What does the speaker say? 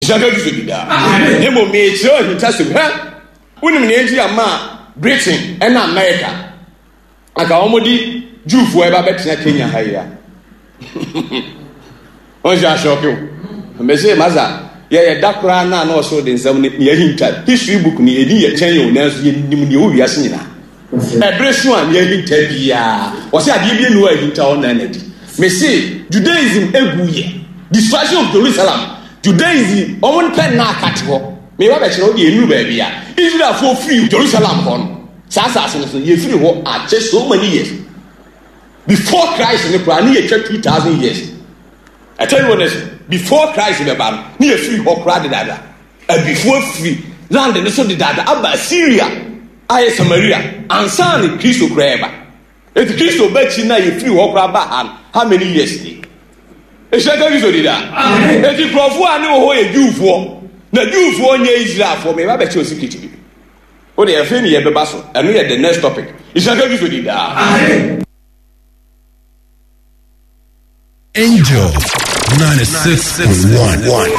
Nhyira nka Kristo din daa. Na mmom merekyerɛ wo ahintasɛm. Hwɛ! Wonim nea enti a maa Britain ne America anka wɔde Jewfoɔ ɛba bɛtena Kenya ha yi a? Wɔn sɛ ahyɔke o. Mese masa yɛyɛ da koraa na na ɔsoro de nsɛm no nea ahinta history book ni ɛdi yɛ kyɛn yɛ o nanso yɛnim nea ɛwɔ wiase nyinaa. Ɛbere so a nea ahinta biara wɔsɛ adeɛ bi enu a ahinta hɔ na na di. Mese Judaism egu yɛ destruction of Jerusalem Judaism wɔn mpɛ nna aka te hɔ. Meba bɛkyerɛ wo deɛ ɛnuru baabi a Israelfoɔ firi Jerusalem hɔ no saa asase no so yɛfiri hɔ akyɛ so many years. Before Christ no koraa ne yɛtwa 2000 years. I tell you honestly, before Christ bɛba no ne yɛfiri hɔ koraa dedaada. Abifoɔ afiri land no so dedaada aba Assyria ayɛ Samaria ansa ne Kristo koraa ɛba. Eti Kristo ba akyi na yɛfiri hɔ koraa ba ha no, how many years ni? Ehyia ka Kristo di daa. Eti nkurɔfoɔ a ne wɔ hɔ yɛ Jewfoɔ na Jewfoɔ nyɛ Israelfoɔ. Meba bɛkyerɛ secret bi. Wo deɛ afei ne yɛbɛba so. Ɛno yɛ the next topic. Nhyira nka Kristo din daa. Angel 96.1.